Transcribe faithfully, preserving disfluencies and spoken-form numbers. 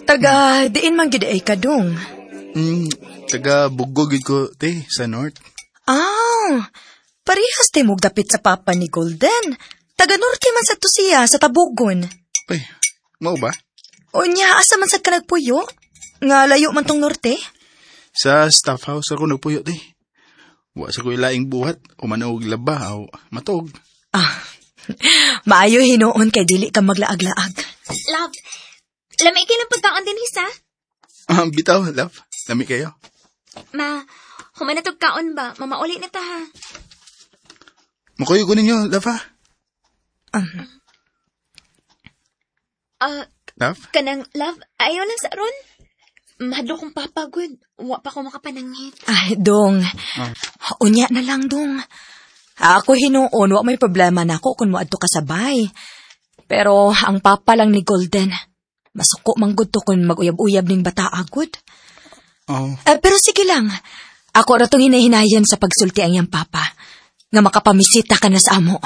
Taga, diin man gid ay ka dong. Mm, taga Bugo gid ko, te, sa North. Ah, parehas te mog dapit sa papa ni Golden. Taga Norte man sa to siya, sa Tabugon. Ay, mao ba? Unya, asa man sad ka nagpuyo? Nga layo man tong Norte? Sa staff house ako nagpuyo, te. Wa sa ko ilaing buhat, human og laba o matog. Ah, maayo hinuon kay dili ka maglaag-laag. Love, lami kay ng pagkaon din hisa. Ah, bitaw, love. Lami kayo. Ma, human na tog kaon ba? Mamauli na ta ha. Makuyo ko ninyo, love ha? Ah, Love? kanang love, ayaw lang sa ron. Mahadlok kong papagod. Wa pa ko makapananghit. Ay, dong. Unya na lang, dong. Ako hinuon, wa may problema na ako kung moadto ka sabay. Pero ang papa lang ni Golden, masuko man gud to kung mag-uyab-uyab ning bata agud. Oh, Eh, pero sige lang. Ako ra tong hinahinayan sa pagsulti ang iyang papa. Nga makapamisita ka na sa amo.